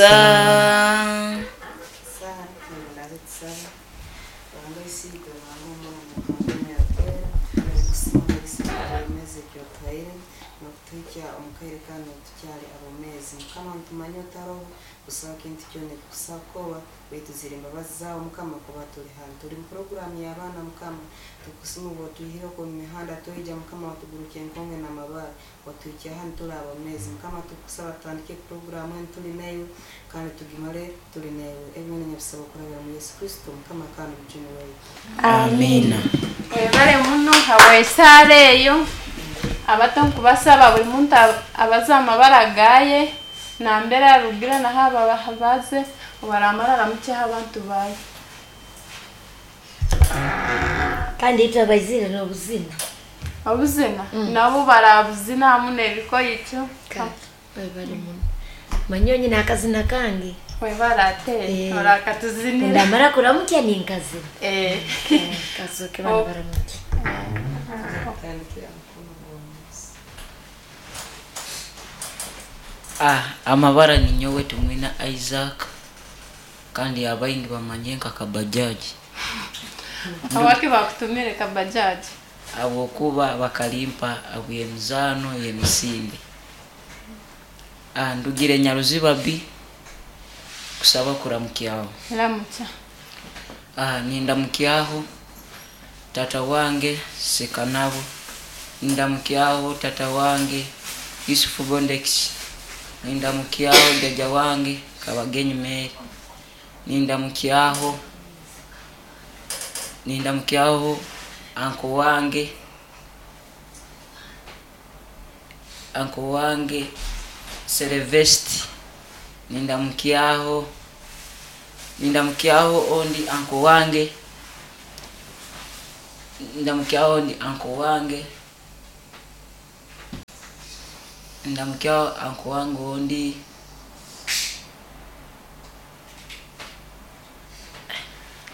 Sara, Twebundaaze tusabe. Ruhanga Isiitwe, Ruhanga Omwana, Ruhanga Omwoyo Arikwera, nitukusiima omugisa gw'obwomeezi eki otuhaire n'okutuhikya omu kaire kanu tukyali abomeezi. Mukama nitumanya otaroho, busaho kintu kyona ekikusa kukorwa, baitu ziri mbabazi zaawe Mukama kuba tuli hanu. Tuli mu puroguraamu y'abaana Mukama, tukusiima obu otwihire okwo omu mihanda twaija Mukama watugurukya enkonge n'amabaare. Otuhikye hanu turi abomeezi. Mukama tukukusaba tutandike puroguramu enu turi naiwe kandi tugimare turi naiwe. Ebi byona nyabisaba okurabira omu Yesu Kristo Mukama kandi Omujuni waitu. Amiina. Webale muno habw'esaara eyo. Abato nkubasaba buli muntu abaze amabara gaye, nambere arugire naho abaze, obu aramara aramukyeho abantu baye. Kandi itwe abaizire n'obuzina. Obuzina? Nabo barabuzina hamu n'ebikoikyo. Kale, webale muno. Manya nyine akazina kange. Webale ate, Eh. orakatuzinira. Ndamara kuramukya ninkazina. Eh. Kazoke bana baramukya. Tandikira mukono gw'omusi. Ah, amabara ninyowe Tumwina Isaac kandi abaingi bamanyire nka Kabajaji. Habwaki bakutumire Kabajaji? Habwokuba bakalimpa habw'emizaano y'emisinde. Ah, ndugire Nyaruziba B kusaba kuramukyaho. Ramukya. Ah, nindamukyaho tata wange Sekanabo, nindamukyaho tata wange Yusufu Bondex, nindamukyaho jaja wange Kabagenyi Mary, nindamukyaho nindamukyaho anko wange anko wange Selevesti, nindamukyaho nindamukyaho ondi anko wange ndamukyaho ondi anko wange ndamukyaho anko wange ondi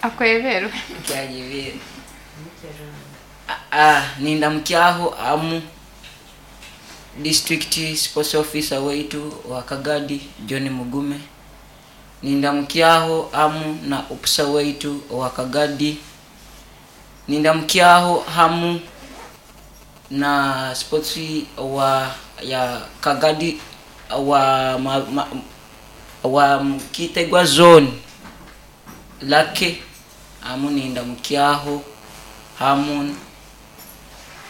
Akweberwe. kyajibire. Ah, nindamukyaho amu district sports officer waitu wa Kagadi John Mugume, nindamukyaho amu na upsa waitu wa Kagadi, nindamukyaho hamu na sports wa ya Kagadi wa ma, ma, wa Kitegwa zone Lake amu nindamukyaho hamu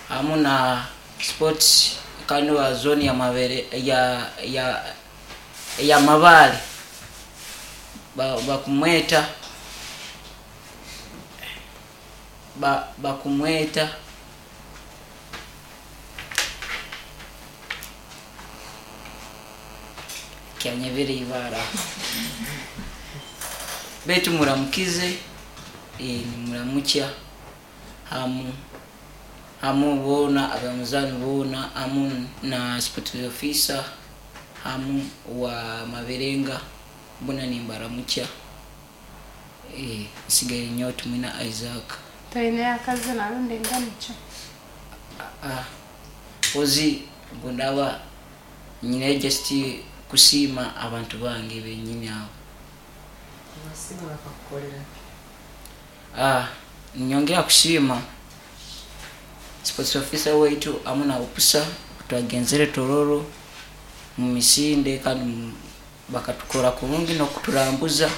hamu na sports kandi wa zone ya mabere ya ya ya Mabale bakumweta ba, bakumweta kyanyebere ibara betu muramukize e, nimuramukya hamu hamu boona abamuzani boona hamu na sports officer hamu wa Maberenga bona nimbaramukya e, nsigaire nyowe Tumwina Isaac. Toine akazina rundi enganikyo? Ah, ozi mbundaba nyine just kusiima abantu bange benyini abo. Abasiima bakakukorera ki? Ah, nyongera kusiima sports officer waitu hamu na upusa twagenzere Tororo mu misinde kandi bakatukora kurungi n'okuturambuza.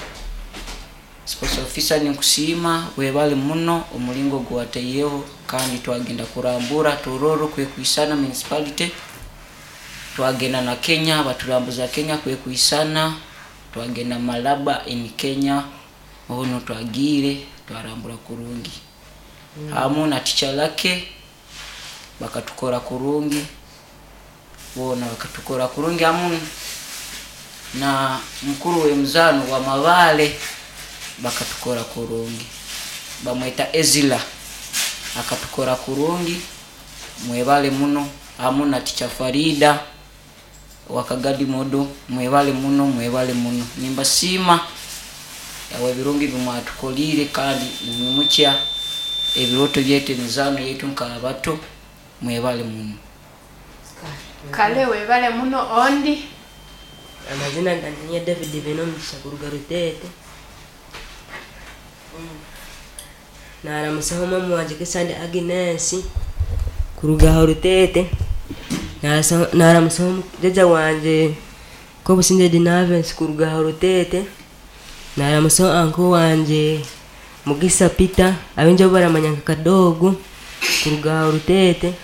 Sports officer ninkusiima webale muno omulingo gwataiyeho kandi twagenda kurambura Tororo kwekwisana municipality, twagenda na Kenya baturambuza Kenya kwekwisana, twagenda Malaba in Kenya ono twagiire twarambura kurungi. Hamu na teacher Lake bakatukora kurungi boona bakatukora kurungi hamu na mukuru w'emizaano wa Mabale bakatukora kurungi bamweta Ezila akatukora kurungi mwebale muno hamu na teacher Farida wa Kagadi Modo mwebale muno mwebale muno nimbasiima awo ebirungi bimwatukoliire kandi nimwimukya ebiroto byaitu emizaano yaitu nk'abato mwebale muno. Kale webale muno ondi. Amazina gangye ni David Bainomugisha kuruga Ruteete. Naramusaho mama wangye Kesande Agnes kuruga aha Ruteete. Naramusaho jjajja wangye Kobusingye Dinavensi kuruga aha Ruteete. Naramusaho uncle wangye Mugisa Peter abaingi abu baramanya nka Kadogo kuruga aha Ruteete.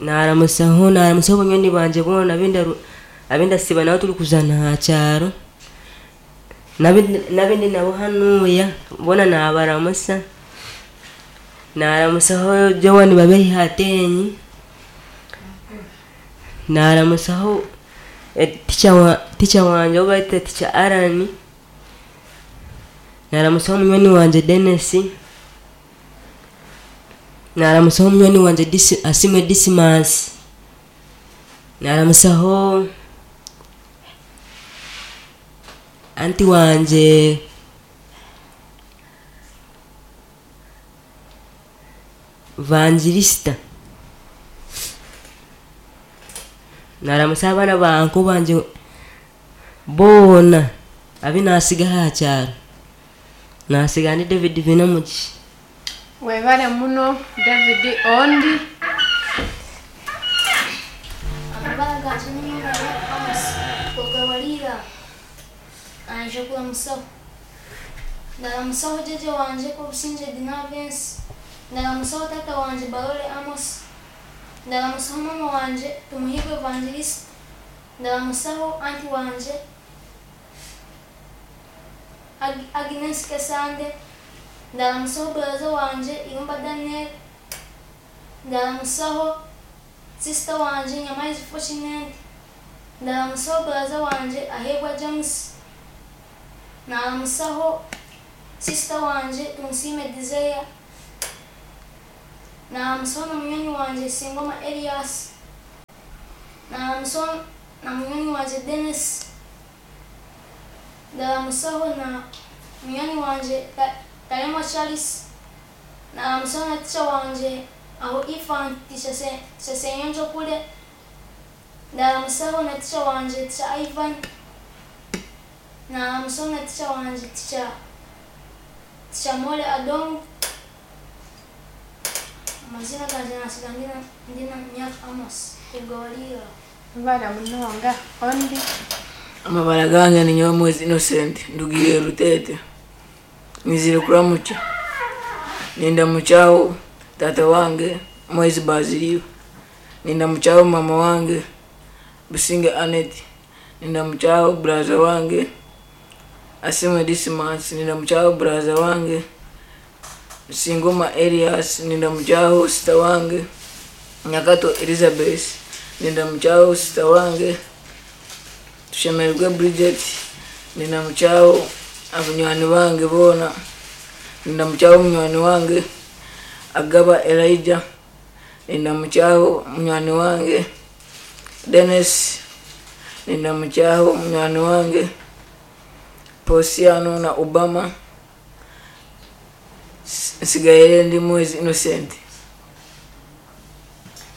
Naramusaho banywani bangye boona abindasiiba nabo turikuzaana aha kyaro n'abindi nabo hanuya boona nabaramusa. Naramusaho Joan Babehi Hatenyi. Naramusaho teacher wangye ou barikuta teacher Allan. Naramusaho munywani wangye Denis. Naramusaho munywani wangye Asiimwe Dismas. Naramusaho anti wangye Vangelista. Naramusa abaana ba uncle bangye boona abu nasiga aha kyaro. Nasiga ndi David Bainomugisha. Webale muno David ondi. Amabara gangye ni Nyongabo Amos kuruga Bariira. Naija kuramusaho. Ndaramusaho jjajja wangye Kobusingye Dinavensi. Ndaramusaho taata wangye Barore Amos. Ndaramusaho mama wangye Tumuhirwe Evangelista. Ndaramusaho anti wangye Agnes Kesande. Ndaramusaho buraza wangye Irumba Daniel. Ndaramusaho sister wangye Nyamaizi Fortunate. Ndaramusaho buraza wangye Ahebwa James. Naramusaho sister wangye Tumusiime Desire. Naramusaho na munywani wangye Singoma Elias. Naramusaho na munywani wangye Denis. Ndaramusaho na munywani wangye Taremwa Charles. Naramusaho na teacher wangye aho Ifan teacher Senyonjo kure. Ndaramusaho na teacher wangye teacher Ivan. Naramusaho na teacher wangye teacher Mole Adong. Amazina gangye nasiga ndi na Myaka Amos kuruga Bariira. Webale munonga ondi. Amabara gange ni Nyomwezi Innocent ndugire Ruteete. Nizire kuramukya. Nindamukyaho tata wange Mwezi Baziliyo. Nindamukyaho mama wange Businge Annette. Nindamukyaho buraza wange Asimwe Dismas. Nindamukyaho buraza wange Singoma Elias. Nindamukyaho sita wange Nyakato Elizabeth. Nindamukyaho sita wange Tushemererwe Bridget. Nindamukyaho abanywani bange boona. Nindamukyaho munywani wange Agaba Elijah. Nindamukyaho munywani wange Denis. Nindamukyaho munywani wange Posiano na Obama. Nsigaire ndi Mwezi Innocent.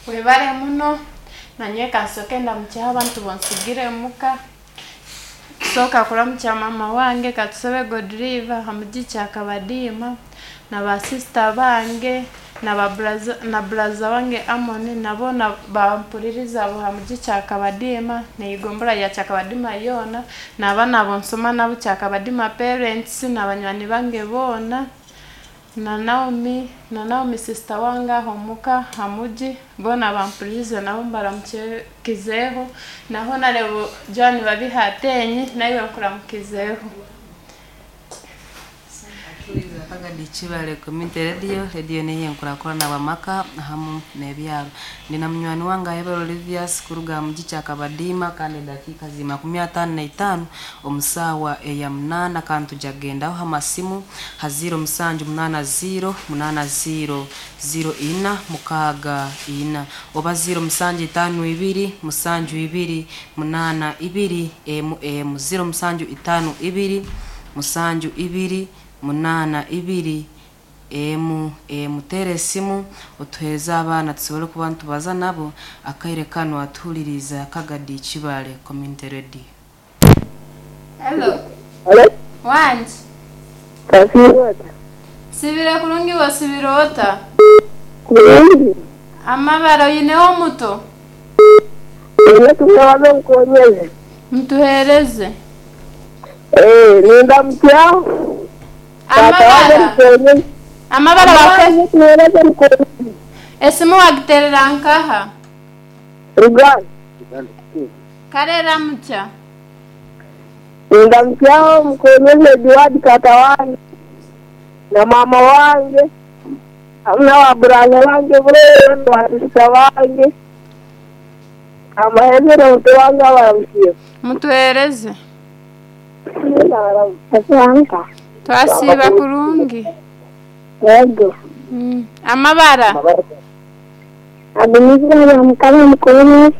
Webale muno. Nanyowe kansoke ndamukyeho abantu bonsigire muka. Kusooka kuramukya mama wange Katusabe Godriva hamugi Kyakabadiima na ba sister bange na buraza wange Amoni nabo bampuririza abo hamugi Kyakabadiima neigombora rya Kyakabadiima yoona n'abaana bonsoma nabo Kyakabadiima parents na banywani bange boona na Naomi sister wange aho muka hamugi boona bampuririze nabo mbaramukizeho naho narebo John Babihatenyi naiwe nkuramukizeho. Kagadi Kibale Community Radio, radio niyo enkurakurana bamaka hamu n'ebyaro. Ndi na munywani wange Ahebera Olivias kuruga mugi Kyakabadiima kandi edakiika ziri 55 omu saawa eya 8 kandi tujagendaho ha masimu ha 0780 80 04 64 oba 0752 72 82 mm 0752 72 82 emu tere esimu otuheereze abaana tusobole kuba nitubaza nabo akaire kanu atuhuririza Kagadi Kibale Community Radio. Hello. Halo, Wangi. Kasiibota. Nsibire kurungi iwe osibire ota? Kurungi. Amabara oineho omuto? Nyine tumwebaze omukonyezi. Mutuheereze. Eh, nindamukya tata wange Amabara. omukonyezi. Amabara wake. Tumwebaze omukonyezi. Esimu wagiterera nkaha? Ruganda. Kale ramukya. Nindamukya omukonyezi Edward tata wange na mama wange hamwe n'ababuraza bange boona basisita bange amahemere muto wange abaramukire. Mutuheereze. Asante. Twasiiba kurungi. Yego. Amabara. Agumiza mukama mukuru.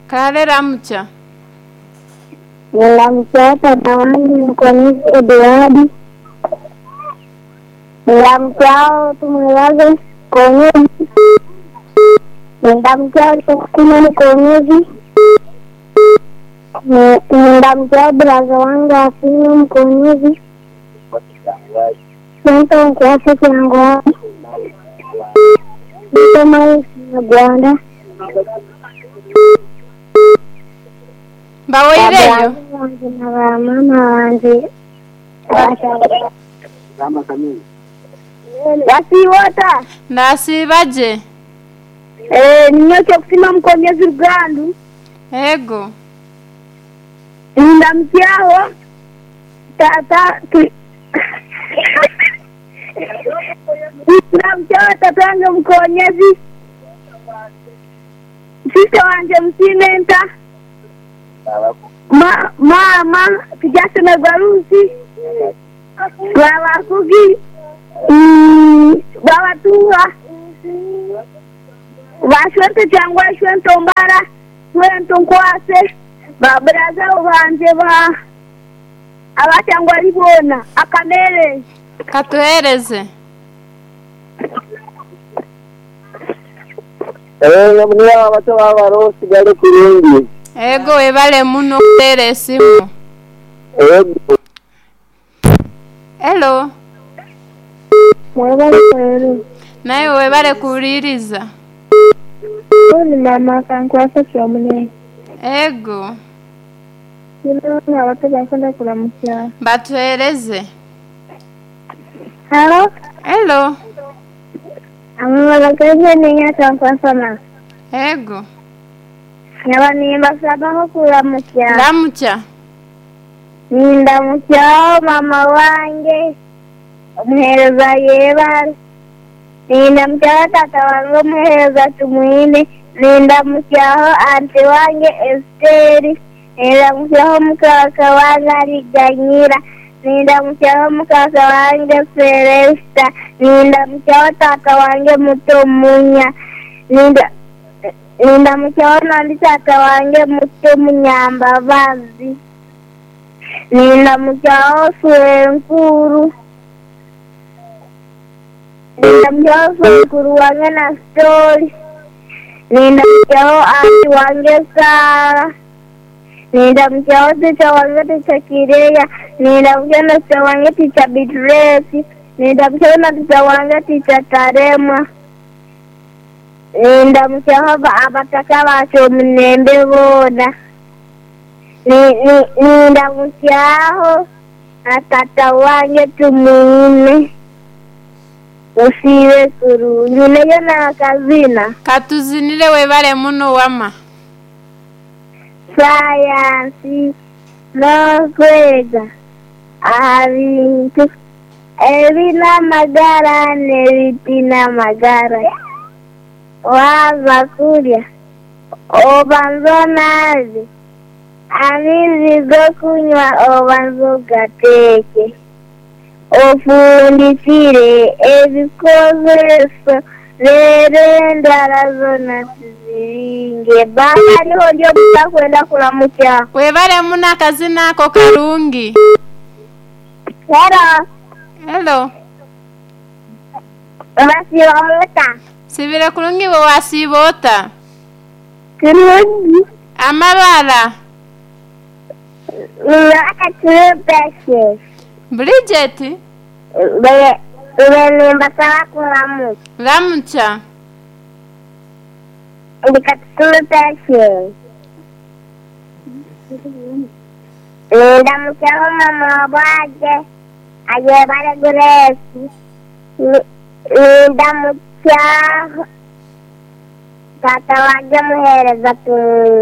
Kale ramukya. Nilamkia tata wangu mkonisi Eduardi. Nilamkia tumulaze konyezi. Nilamkia sukuma mkonyezi. Nilamkia braza wangu afino mkonyezi. Sento nkwase kyangwa. Nsoma Rwanda. Bawoireyo. Wange na ba mama wange. Wasiwota. Ndasiiba gye. Eh, ninyoche kusima mukonyezi Rugandu. Ego. Ndamukyaho tata tu Ndamukyaho tata wange mukonyezi. Sista wange musimenta. Ma, mama tujasemerwa Rusi. Babakugi. Babatunga. Bashwente cyangwa shwente mbara shwente nkwase baburaza banje ba abacyangwa ribona akamere Katuheereze. Eh, abato babaro sigale kurungi. Ego webale muno okuteera esimu. Ego. Hello. Mwebale kweri. Nawe webale kuwuliriza. Ni mama kankwasa kyomunene. Ego. Kino abato bakunda kuramukya. Batuheereze. Halo, Hello. amabara gaje ninya kankwasa na. Ego. Nyaba nimbasabaho kuramukya. Ramukya. Nindamukyaho mama wange omuheereza yebale. Nindamukyaho tata wange omuheereza Tumwine. Nindamukyaho anti wange Esiteri. Nindamukyaho mukaka wange Ariganyira. Nindamukyaho mukaka wange Celesta. Nindamukyaho tata wange muto Munya. Ninda Nindamukyaho nondi tata wange muto Munyambabazi. Nindamukyaho Swenkuru. Nindamukyaho Swenkuru wange na Stori. Nindamukyaho anti wange Sara. Nindamukyaho ticha wange ticha Kireya. Nindamukyaho na ticha wange ticha Bitresi. Nindamukyaho na ticha wange ticha Taremwa. Nindamukyaho abataka bacu omunembe boona. Nindamukyaho na tata wange Tumwine. Musiibe kurungi neyo nakazina. Katuzinire webale muno wama. Sayansi n'okwega aha bintu ebine amagara n'ebitiine amagara. Waaza kurya obanza onaabe, amaizi g'okunywa obanza ogateeke, ofundikire ebikozeso reero endwara zoona tuziringe. Baba hariho ndi obutakwenda kuramukya. Webale muno akazina ako karungi. Hello. Hello. Basiba ota. Sibire kurungi bwe wasiiba ota? Kurungi. Amabara. Ninyowe Katulupesi. Bridget, Mbe nimbasaba kuramu. ramukya. Ndi Katulupesi. Nindamukyaho mama wabwaje ayebare Grace. Nindamukyaho tata wanje muhereza tumwine.